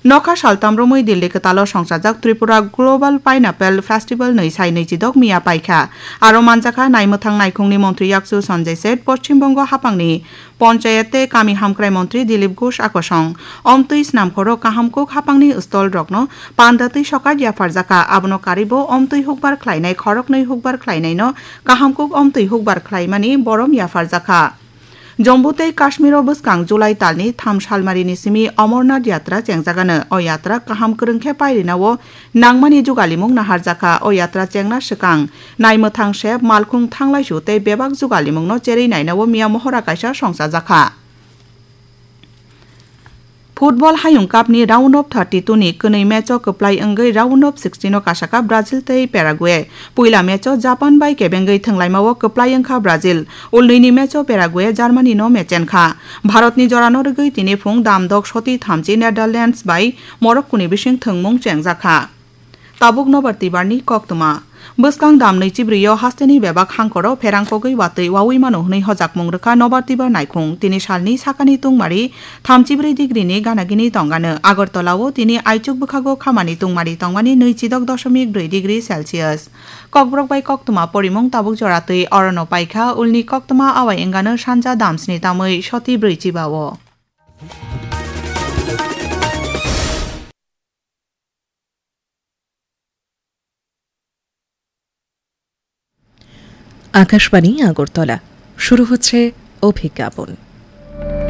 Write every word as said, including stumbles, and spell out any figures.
Nokha saltam romwi Delhi kwtalo songchajak Tripura Global Pineapple Festival nwi sai nwi chidok miya paikha. Aro manjakha naimwthang naikhungni montri yakchu Sanjay Seth, Poschim Bongo haphangni Ponchayat tei Kami Hamkrai montri Dilip Ghosh akosong. Omtwi snamkhoro kahamkuk haphangni stall rokno panda twi sokat yapharjakha, abono karibo omtwi hukbar khlainai khoroknwi hukbar khlainaino kahamkuk omtwi hukbar khlaimani borom yapharjakha. Jammu tei Kashmiro bwskang July talni tham salmarini simi Amarnath Yatra chengjagano. O yatra kaham kwrwng khe pairina-o nangmani jugalimung naharjakha. O yatra chengna swkang naimwthang sep, malkhung thanglaisu tei bebak jugalimungno cherwi naina-o miya mohora kaisa songchajakha. Football Hayung Cup ni round of thirty-two ni kwnwi match o kwplai wngwi round of sixteen o kasakha Brazil tei Paraguay. Puila match o Japan bai kebengwi thwnglaima o kwplai wngkha Brazil. Ulnwini match o Paraguay Germany no mechenkha. Bharat ni jora no rwgwi tini phung damdok soti thamchi Netherlands bai Morocco ni bising thwngmung chengjakha. Tabuk Nobar Tibar ni koktwma. Bwskang dam nwi chibrwi o hasteni bebak hangkoro pherang kogwi watwi wawi mano hwnwi hojakmung rwkha Nobar Tibar naikhung. Tini salni sakani tungmari thamchibrwi degree ni ganagini tongano. Agartala o tini aichuk bwkhago khamani tungmari tongmani nwi chidok doshomik brwi degree Celsius. Kokborok bai koktwma porimung tabuk jora twi orono paikha, ulni koktwma awai wngano sanja damsni tamwi soti brwi chiba o. Akashvani আগরতলা। শুরু হচ্ছে অভিজ্ঞাপন।